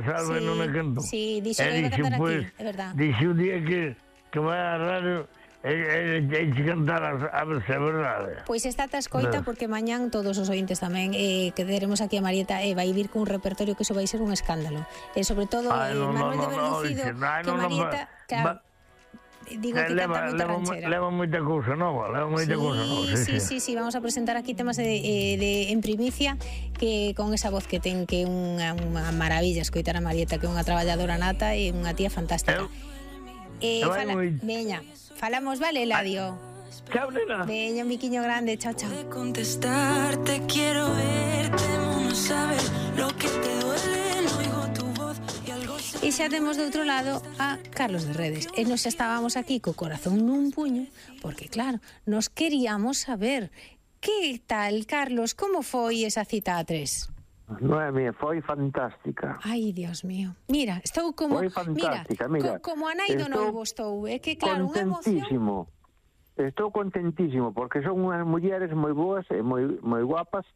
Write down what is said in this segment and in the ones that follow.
Salve non me cantou. Sí, dixo que iba a cantar aquí, é verdad. Dixe un día que vai a radio e cantar a ver se é verdade. Pois esta te escoita porque mañán todos os ointes tamén que teremos aquí a Marieta vai vir cun repertorio que iso vai ser un escándalo. E sobre todo Manuel de Berlucido, que Marieta, claro, digo que canta moita ranchera. Leva moita cousa nova, Sí, vamos a presentar aquí temas en primicia que con esa voz que ten, que é unha maravilla escoitar a Marieta, que é unha traballadora nata e unha tía fantástica. Veña, falamos, vale, Eladio? Chao, nena. Veña, un biquiño grande, chao. Contestarte, quiero verte, no sabes lo que te duele, no oigo tu voz y algo se... E xa temos do outro lado a Carlos de Redes. E nos estábamos aquí co corazón nun puño, porque claro, nos queríamos saber que tal, Carlos, como foi esa cita a tres? Noemi, foi fantástica. Ai, Dios mío. Mira, estou como... Foi fantástica, mira. Como a nai do noivo estou. É que claro, unha emoción... Estou contentísimo, porque son unhas mulleres moi boas e moi guapas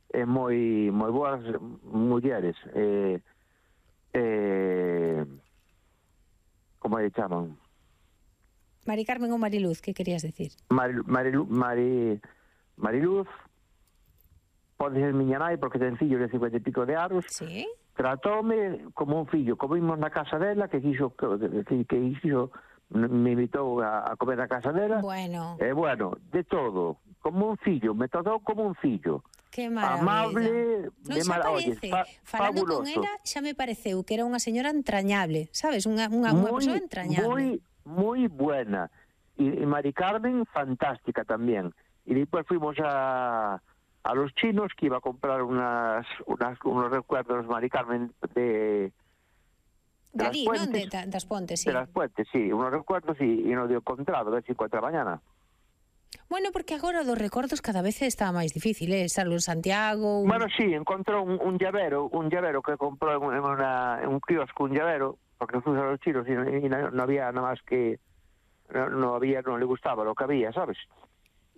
e moi boas mulleres. Como lle chaman? Mari Carmen ou Mariluz, que querías decir? Mariluz pode ser miña nai porque ten fillos de 50 e pico de anos. Sí. Tratóme como un fillo. Comimos na casa dela, que me invitou a comer na casa dela. Bueno. Bueno, de todo. Como un fillo. Me tratou como un fillo. Que maravilla. Amable. Non xa parece. Falando con ela, xa me pareceu que era unha señora entrañable. Sabes? Unha persoa entrañable. Moi buena. E Mari Carmen, fantástica tamén. E depois fuimos a los chinos, que iba a comprar unos recuerdos Mari Carmen de Dalí, non? Das Pontes, sí. De las Puentes, sí. Unos recuerdos e non dio encontrado, a ver se encuentra mañana. Bueno, porque agora dos recordos cada vez está máis difícil, Salud Santiago... Bueno, sí, encontrou un llavero que comprou en un kiosco, un llavero, porque fuimos a los chinos e non había nada máis que... Non le gustaba lo que había, ¿sabes?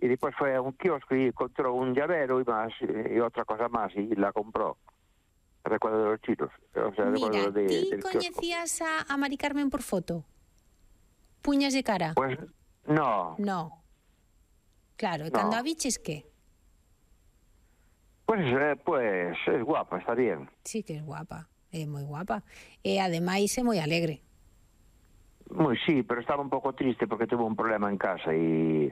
Y después fue a un kiosco y encontró un llavero y otra cosa más y la compró. Recuerdo de los chinos. O sea, mira, ¿ti coñecías a Mari Carmen por foto? ¿Puñas de cara? Pues no. No. Claro, ¿y cando a biches qué? Pues es guapa, está bien. Sí que es guapa, é moi guapa. E ademais é moi alegre. Sí, pero estaba un pouco triste porque tuvo un problema en casa y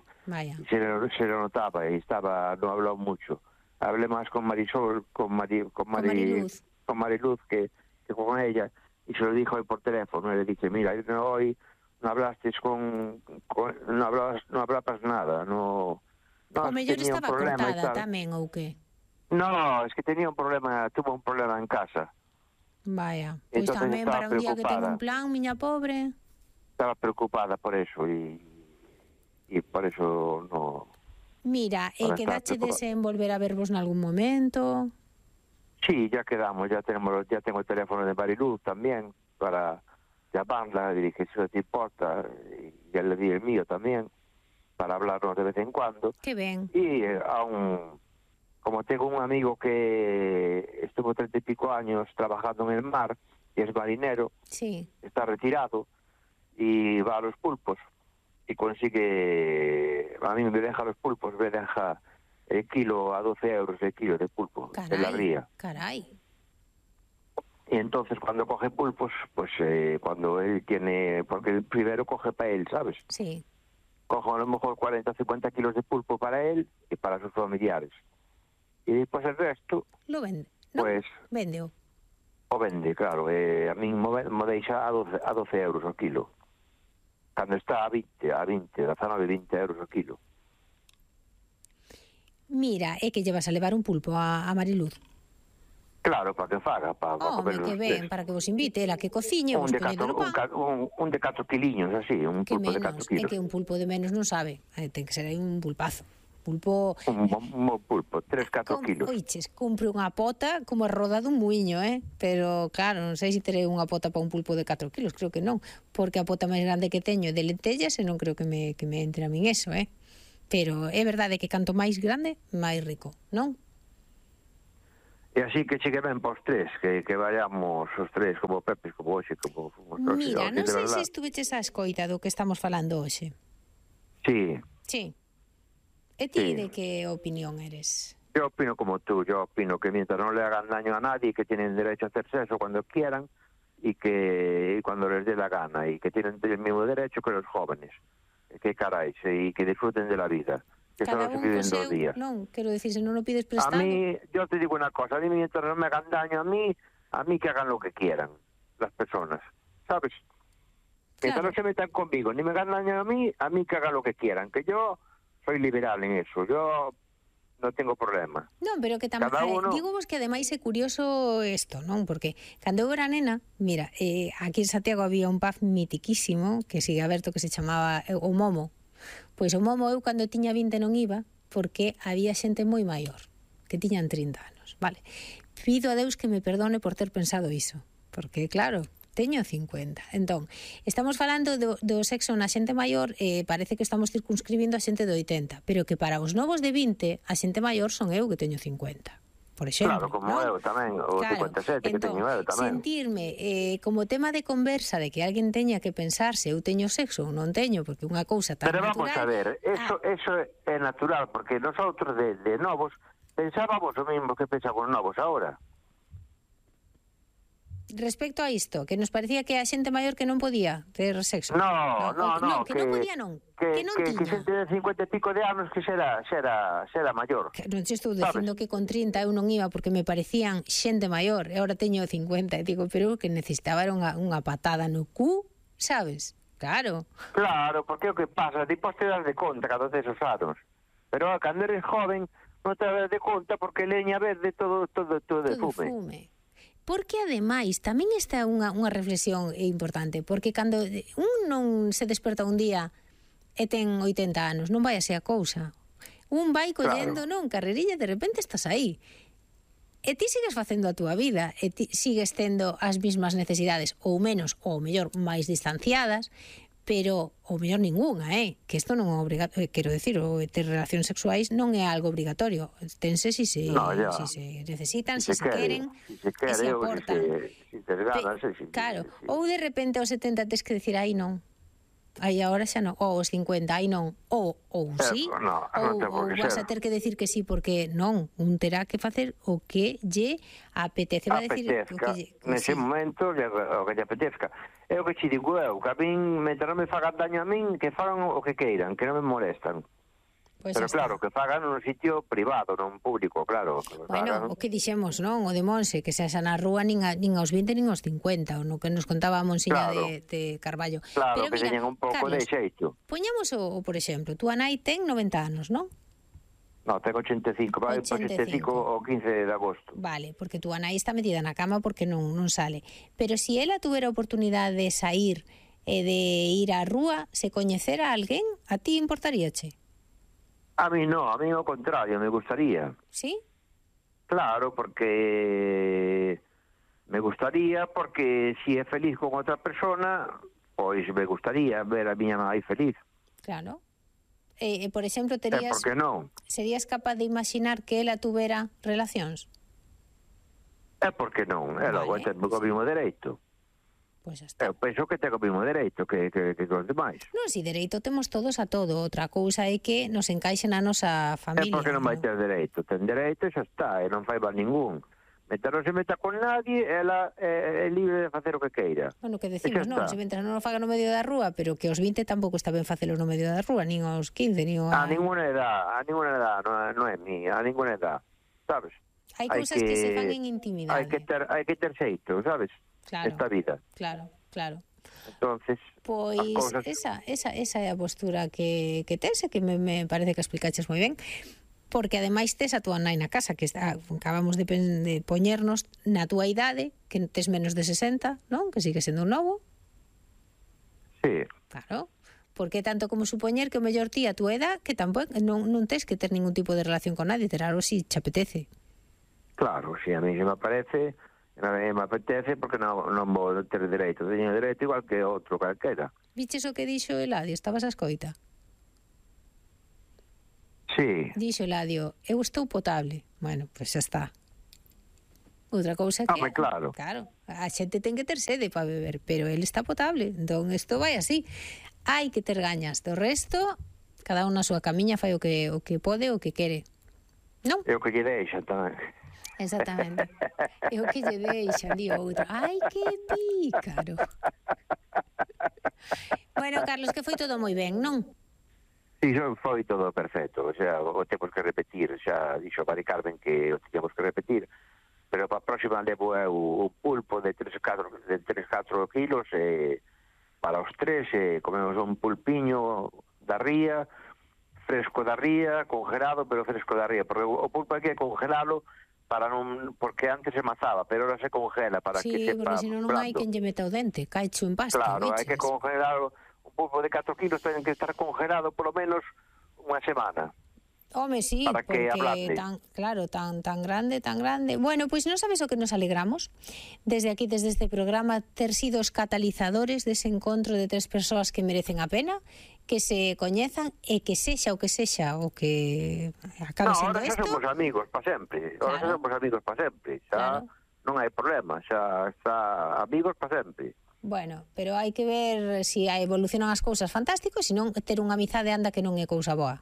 se lo notaba y no habló mucho. Hablé más con Marisol, con Mariluz que con ella, y se lo dijo hoy por teléfono. Y le dije, mira, hoy no hablaste no hablabas nada, no. O mellor estaba cortada tamén, ou que? No, es que tuvo un problema en casa. Vaya, pois tamén para un día que tengo un plan, miña pobre... Estaba preocupada por eso y por eso no... Mira, quedachedes en volver a vervos en algún momento? Sí, ya quedamos, ya tengo el teléfono de Mariluz también para llamarla, le dije si no te importa, y ya le di el mío también para hablarnos de vez en cuando. Qué bien. Y como tengo un amigo que estuvo 30 y pico años trabajando en el mar y es marinero, sí, está retirado, y va a los pulpos y consigue, a mí me deja los pulpos, me deja el kilo a 12 euros el kilo de pulpo. Caray, en la ría. Caray. Y entonces cuando coge pulpos, pues cuando él tiene, porque primero coge para él, ¿sabes? Sí. Coge a lo mejor 40 o 50 kilos de pulpo para él y para sus familiares. Y después el resto... Lo vende, ¿no? Pues... Vende. O vende, claro. A mí me deixa a 12 euros o kilo. Cando está a 20, 19-20 euros o kilo. Mira, é que llevas a levar un pulpo a Mariluz. Claro, para que faga, para comer que ben, para que vos invite, ela que cociñe, vos poñendo no pan. Un de 4 kiliños, así, un pulpo de 4 kilos. É que un pulpo de menos non sabe, ten que ser aí un pulpazo. Pulpo... Un pulpo, 3-4 kilos. Oiches, cumpre unha pota como a roda dun muiño, pero claro, non sei se terei unha pota para un pulpo de 4 kilos, creo que non, porque a pota máis grande que teño de lentellas e non creo que me entre a min eso, pero é verdade que canto máis grande, máis rico, non? E así que chegue ben para os tres, que vayamos os tres como Pepe, como hoxe, como... Mira, non sei se estuveches a escoita do que estamos falando hoxe. Sí. Sí. E ti de que opinión eres? Yo opino como tú, yo opino que mientras no le hagan daño a nadie, que tienen derecho a hacer sexo cuando quieran y que cuando les dé la gana, y que tienen el mismo derecho que los jóvenes. Que caray, y que disfruten de la vida. Que Cada solo se un viven co seu, 2 días. non, quero dicir, se non o pides prestado... A mí, yo te digo una cosa, a mí mientras no me hagan daño a mí que hagan lo que quieran, las personas, ¿sabes? Mientras no se metan conmigo, ni me hagan daño a mí que hagan lo que quieran, que yo soy liberal en eso, yo non tengo problema. Non, pero que tamén, digo vos que ademais é curioso isto, non? Porque cando eu era nena, mira, aquí en Santiago había un pub mitiquísimo que sigue aberto que se chamaba o Momo. Pois o Momo eu cando tiña 20 non iba porque había xente moi maior, que tiñan 30 anos, vale? Pido a Deus que me perdone por ter pensado iso, porque claro, teño 50. Entón, estamos falando do sexo na xente maior, parece que estamos circunscribindo a xente de 80, pero que para os novos de 20, a xente maior son eu que teño 50. Por exemplo, claro, como eu tamén, o 57 que teño eu tamén. Sentirme como tema de conversa de que alguén teña que pensar se eu teño sexo ou non teño, porque unha cousa tan natural... Pero vamos a ver, eso é natural, porque nosotros de novos pensábamos o mismo que pensamos novos ahora. Respecto a isto, que nos parecía que a xente maior que non podía ter sexo. No, que non podía non. Que non tiña. Que xente de 50 e pico de anos que xera maior. Que non te estou dicindo que con 30 eu non iba porque me parecían xente maior, e agora teño 50, e digo, pero que necesitaba era unha patada no cu, sabes? Claro. Claro, porque o que pasa, depois te das de conta cando tes os anos. Pero cando eres joven non te das de conta porque leña verde todo de fume. Porque ademais tamén está unha reflexión importante, porque cando un non se desperta un día e ten 80 anos, non vai así a cousa. Un vai collendo, non, carrerilla, de repente estás aí. E ti sigues facendo a túa vida, e ti sigues tendo as mismas necesidades, ou menos, ou mellor, máis distanciadas, pero ou mellor ningunha, que isto non é obrigatorio, quero decir, o ter relacións sexuais non é algo obrigatorio, tense si se necesitan, si se queren, e se aportan. Claro, ou de repente aos 70 tes que decir, aí non, aí agora xa non, ou aos 50, aí non, ou sí, ou vas a ter que decir que sí, porque non, un terá que facer o que lle apetece, va a decir nese momento, o que lle apetezca. É o que te digo eu, que a min, mentre non me fagan daño a min, que fagan o que queiran, que non me molestan. Pues pero claro, que fagan nun sitio privado, non público, claro. Bueno, o que dixemos, non? O de Monse, que se asa na rúa nin aos 20 nin aos 50, o no que nos contaba a Monsiña de Carballo. Claro, pero que teñen un pouco de xeito. Poñamos por exemplo, tú nai ten 90 anos, non? No, tengo 85, vai 85 o 15 de agosto. Vale, porque tú nai está metida na cama porque non sale. Pero si ela tuvera oportunidade de sair e de ir á rúa, se coñecera a alguén, a ti importaríache? A mí no, a mí ao contrario, me gustaría. ¿Sí? Claro, porque me gustaría, porque si é feliz con outra persona, pois me gustaría ver a miña nai feliz. Claro. Por exemplo, por que non? Serías capaz de imaginar que ela tuvera relacións? Por que non? Ela ten o mesmo dereito. Pois está. Eu penso que ten o mesmo dereito que os demais. Non, si dereito temos todos a todo. Outra cousa é que nos encaixe na nosa familia. Porque non vai ter dereito. Ten dereito e xa está, e non fai mal ningún. Mentre non se meta con nadie, ela é libre de facer o que queira. Bueno, que decimos, non, se mentre non o faga no medio da rúa, pero que aos 20 tampouco está ben facelo no medio da rúa, nin aos 15, nin a ninguna edad, non é mi, a ninguna edad, sabes? Hai cousas que se fan en intimidade. Hai que ter xeito, sabes? Claro. Esta vida. Claro. Entonces, pois esa é a postura que tes, que me parece que explicaches moi ben. Porque ademais tes a túa nai na casa, que acabamos de poñernos na túa idade, que tes menos de 60, non? Que sigue sendo un novo. Sí. Claro. Porque tanto como supoñer que o mellor ti a túa edad, que tampouco non tes que ter ningún tipo de relación con nadie, ter algo si te apetece. Claro, si a mí se me apetece porque non vou ter dereito. Teño dereito igual que outro calquera. Viches o que dixo Eladio? Estabas a escoita? Sí. Dixo Eladio, eu estou potable. Bueno, pois xa está. Outra cousa que... claro. Claro, a xente ten que ter sede para beber, pero ele está potable, entón isto vai así. Hai que ter gañas, do resto, cada un na súa camiña fai o que pode, o que quere. Non? É o que lle deixa tamén. Exactamente. É o que lle deixa ali outro. Ai, que pícaro. Bueno, Carlos, que foi todo moi ben, non? Sí, foi todo perfecto, o sea, o temos que repetir, xa dixo Mari Carmen que o temos que repetir, pero para a próxima levo o pulpo de 3-4 kilos para os tres, comemos un pulpiño da ría, fresco da ría, congelado, pero fresco da ría, porque o pulpo hai que congelalo para non, porque antes se mazaba, pero ahora se congela para que sepa. Sí, porque senón non hai quen lle meta o dente, caicho en pasta. Claro, hai que congelarlo, un pulpo de 4 kilos ten que estar congelado polo menos unha semana. Home, sí, porque tan grande. Bueno, pois non sabes o que nos alegramos desde aquí, desde este programa, ter sido os catalizadores dese encontro de tres persoas que merecen a pena, que se coñezan e que sexa o que acabe sendo isto. Ahora xa somos amigos para sempre. Xa non hai problema, xa está amigos para sempre. Bueno, pero hai que ver se evolucionan as cousas fantástico, se non ter unha amizade anda que non é cousa boa,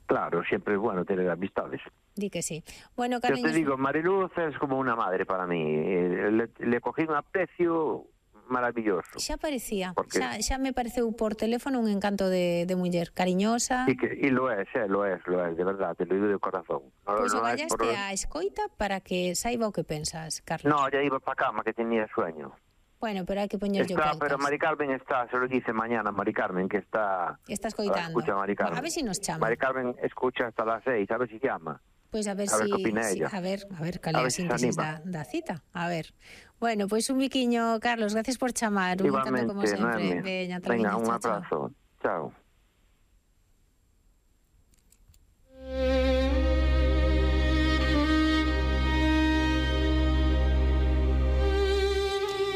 Claro, siempre es bueno tener amistades. Di que sí. Bueno, Carliños... Yo te digo, Mariluz es como una madre para mí. Le cogí un aprecio maravilloso. Xa parecía. Porque... Xa me pareceu por teléfono un encanto de muller, cariñosa. Y lo es, de verdad, te lo digo de corazón. Pois o gallaste a escoita para que saiba o que pensas, Carlos. No, ya iba para cama, que tenía sueño. Bueno, pero hai que poñer yo peltas. Pero Mari Carmen está, se lo dice mañana Mari Carmen, que está... Está escoitando. Escucha Mari Carmen. A ver si nos chama. Mari Carmen escucha hasta las 6, a ver si llama. Pois a ver si... A ver, cal é a síntesis da cita. A ver. Bueno, pois un biquiño, Carlos, gracias por chamar. Un encanto como sempre. Venga, un abrazo. Chao.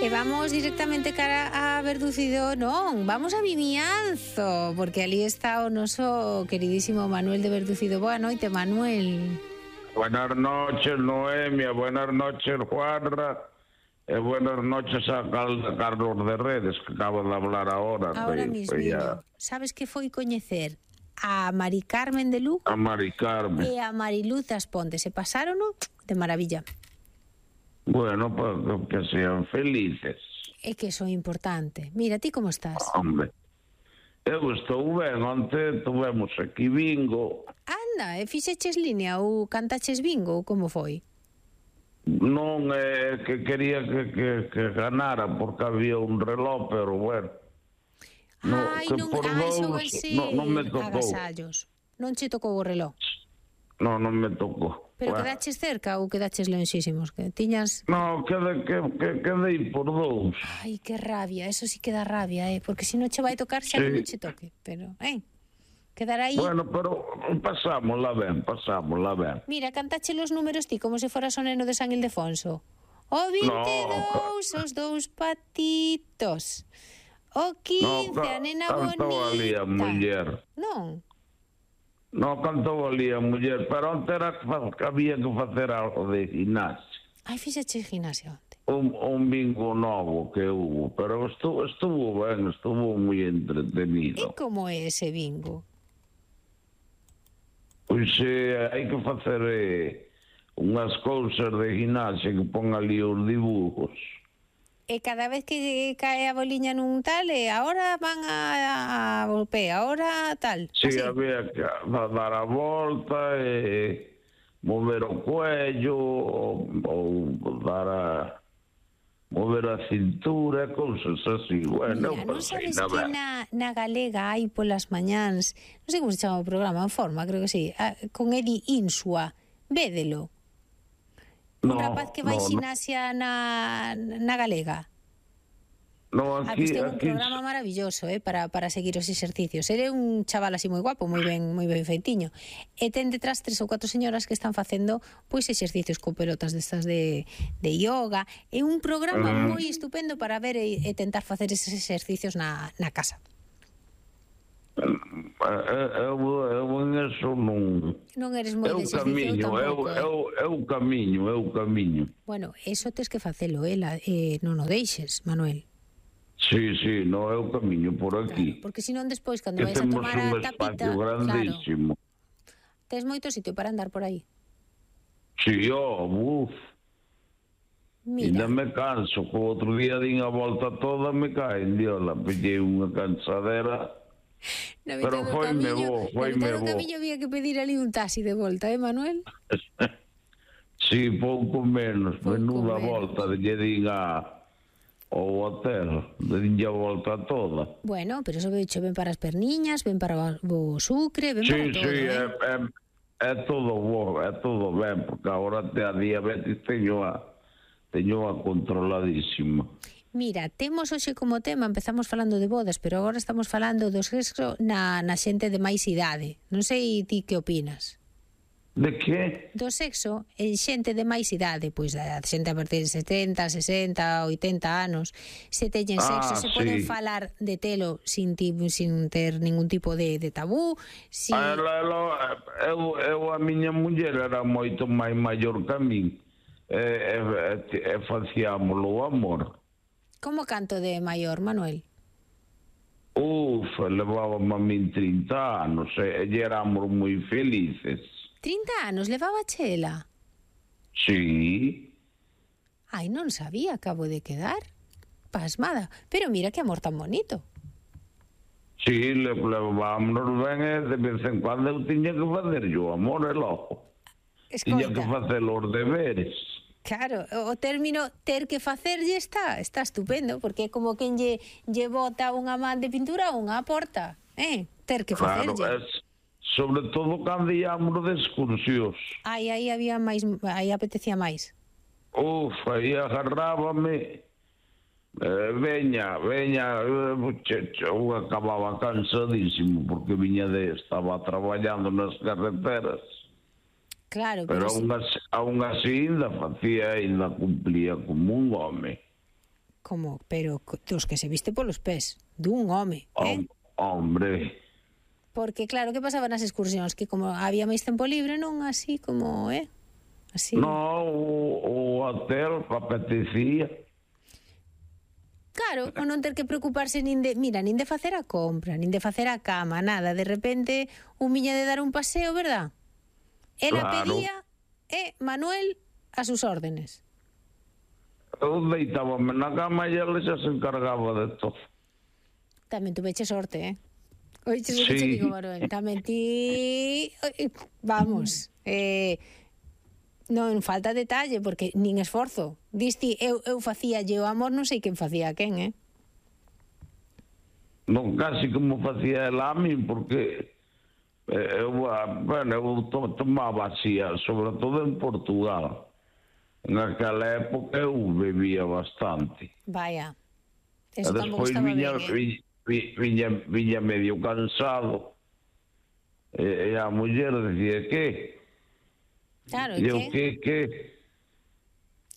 E vamos directamente cara a Verducido, non, vamos a Vimianzo, porque ali está o noso queridísimo Manuel de Verducido. Boa noite, Manuel. Buenas noches, Noemia, buenas noches, Juanra, e buenas noches a Carlos de Redes, que acabo de hablar ahora. Ahora mismo. Sabes que foi coñecer a Mari Carmen de Lugo? A Mari Carmen. E a Mariluz das Pontes, se pasaron de maravilla. Bueno, pues que sean felices. É que eso é importante. Mira, ti como estás? Hombre, eu estou ben. Onte tuvemos aquí bingo. Anda, e fixeches línea ou cantaches bingo ou como foi? Non, que quería que ganara porque había un reloj, pero bueno. Non me tocou. Agasallos. Non che tocou o reloj? Non me tocou. Pero quedaches cerca ou quedaches lonxísimos? Que tiñas... Non, quedei por 2. Ai, que rabia, eso sí que dá rabia, porque se non che vai tocar xa que non che toque, pero, quedar aí... Bueno, pero pasámosla ben. Mira, cantache los números ti como se foras o neno de San Ildefonso. O 22, os 2 patitos. O 15, a nena bonita. Cantou ali a muller. Non? Non cantou ali a muller, pero onte era que había que facer algo de gimnasia. Ai, fixache gimnasia onte. Un bingo novo que hubo, pero estuvo ben, estuvo moi entretenido. E como é ese bingo? Pois hai que facer unhas cousas de gimnasia que pon ali os dibujos. E cada vez que cae a boliña nun tal, ahora van a golpe, ahora tal. Sí, había que dar a volta e mover o cuello ou mover a cintura, cousas así. Bueno, mira, non sabes que na galega hai polas mañáns, non sei como se chama o programa, en forma, creo que sí, con Edi Insua, védelo. Un rapaz que vai xinasia na galega. No, aquí ten un programa maravilloso, para seguir os exercicios. Ele é un chaval así moi guapo, moi ben feitiño. E ten detrás 3 ou 4 señoras que están facendo pois exercicios con pelotas destas de yoga. É un programa moi estupendo para ver e tentar facer eses exercicios na casa. Eu en eso non... Non eres moi de exercicio tampouco, é o camiño. Bueno, eso tes que facelo, non o deixes, Manuel. Sí, no é o camiño por aquí. Claro, porque senón despois, cando vais a tomar a tapita... grandísimo. Claro, tes moito sitio para andar por aí. Sí, buf. Mira. Ainda me canso, que o outro día din a volta toda me caen, diola, pillei unha cansadera... Pero foi-me bo. No camiño había que pedir ali un taxi de volta, Manuel? Sí, pouco menos, menuda volta, lle din ao hotel, dinlle a volta toda. Bueno, pero eso ben para as perniñas, ben para o sucre, ben para todo. Sí, é todo bo, é todo ben, porque agora a diabetes teño a controladísima. Mira, temos hoxe como tema, empezamos falando de bodas, pero agora estamos falando do sexo na xente de máis idade. Non sei ti que opinas. De que? Do sexo en xente de máis idade, pois a xente a partir de 70, 60, 80 anos, se teñen sexo, se poden falar de telo sin ter ningún tipo de tabú. Eu a miña muller era moito máis maior que a min, e facíamolo o amor. Como canto de maior, Manuel? Levábamos a min 30 anos, e éramos moi felices. 30 anos levaba Chela? Sí. Ai, non sabía, acabo de quedar pasmada. Pero mira que amor tan bonito. Sí, levámonos ben, e de vez en cuando eu tiña que facer yo amor, e logo. Tiña que facer os deberes. Claro, o término ter que facerlle está estupendo, porque é como quen lle bota unha man de pintura a unha porta, ter que facerlle. Claro, sobre todo cando íamos de excursións. Aí había máis, aí apetecía máis. Aí agarrábame, veña, eu acababa cansadísimo, porque estaba traballando nas carreteras. Claro, pero aún así ainda cumplía como un home. Como? Pero dos que se viste polos pés, dun home, Hombre. Porque claro, que pasaba nas excursións? Que como había máis tempo libre, non así como, así. No, o hotel apetecía. Claro, o non ter que preocuparse nin de facer a compra, nin de facer a cama, nada, de repente un viña de dar un paseo, verdad? Ela pedía, Manuel, a sus órdenes. Eu deitábame na cama e ela xa se encargaba de todo. Tamén tuveche sorte, Oiches o que che digo, Manuel? Tamén ti... Vamos, non falta detalle, porque nin esforzo. Disti, eu facíalle o amor, non sei quen facía a quen, Non, casi como facía ela a min, porque... eu tomaba así, sobre todo en Portugal. En aquela época eu bebía bastante. Vaya, eso tampouco estaba ben, viña medio cansado, e a muller decía, que? Claro, e eu, que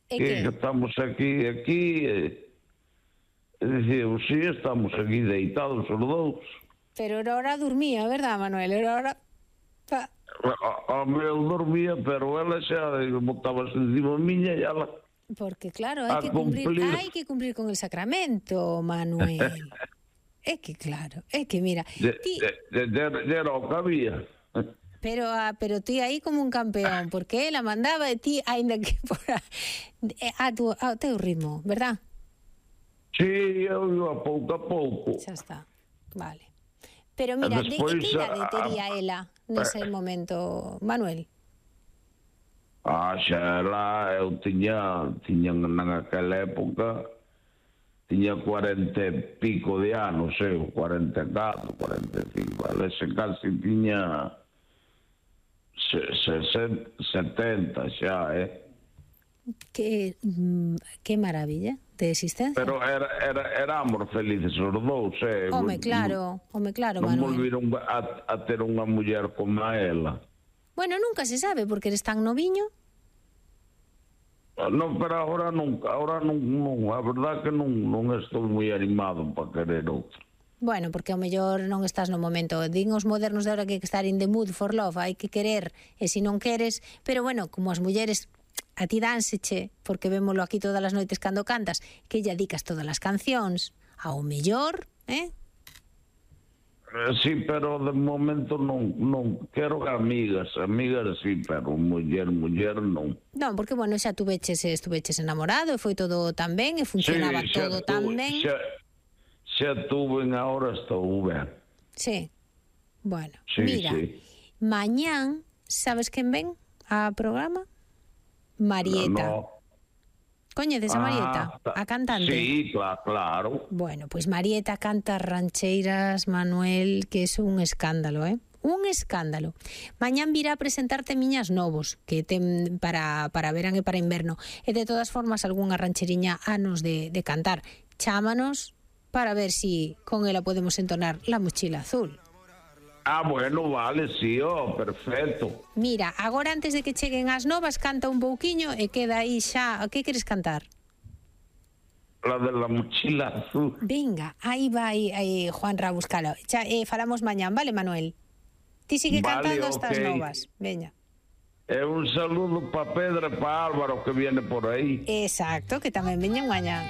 estamos aquí, e decía, sí, estamos aquí deitados os dous. Pero era hora dormía, verdad, Manuel? Era hora... Eu dormía, pero ela xa botábase encima miña e ela... Porque claro, hai que cumplir con el sacramento, Manuel. É que claro, é que mira... Era o que había. Pero ti aí como un campeón, porque ela mandaba de ti, ainda que fora ao teu ritmo, verdad? Sí, eu iba pouco a pouco. Xa está, vale. Pero mira, despois, que idade tería ela nese momento, Manuel? Xa ela, eu tiña naquela época, tiña 40 e pico de anos, 44, 45, ela casi tiña 70 xa, Que maravilla de existencia. Pero éramos felices os dous, Home, claro, Manuel. Non volviron a ter unha muller como a ela. Bueno, nunca se sabe, porque eres tan noviño. Non, pero ahora non, a verdad que non estou moi animado para querer outro. Bueno, porque ao mellor non estás no momento. Din os modernos de ahora que hai que estar in the mood for love, hai que querer, e se non queres, pero bueno, como as mulleres a ti dánseche, porque vémolo aquí todas as noites cando cantas, que lle dedicas todas as cancións, ao mellor, Sí, pero de momento non quero amigas sí, pero muller non. Non, porque, bueno, xa estuveches enamorado e foi todo tan ben e funcionaba todo tan ben. Xa tuve, agora estou ben. Sí, bueno, mira, mañán, sabes quen ven a programa? Marieta. No. Coñeces a Marieta, a cantante? Sí, claro. Bueno, pois Marieta canta rancheiras, Manuel, que é un escándalo, un escándalo. Mañán virá a presentarte Miñas Novos, que ten para verán e para inverno. E de todas formas, algunha rancheriña anos de cantar. Chámanos para ver si con ela podemos entonar La Mochila Azul. Bueno, vale, sí, perfecto. Mira, agora antes de que cheguen as novas, canta un pouquiño e queda aí xa. Que queres cantar? La de La Mochila Azul. Venga, aí vai Juan Ra buscalo. Xa, falamos mañán, vale, Manuel? Ti sigue cantando estas novas. Veña. Un saludo para Pedro e para Álvaro que viene por aí. Exacto, que tamén veñen mañán.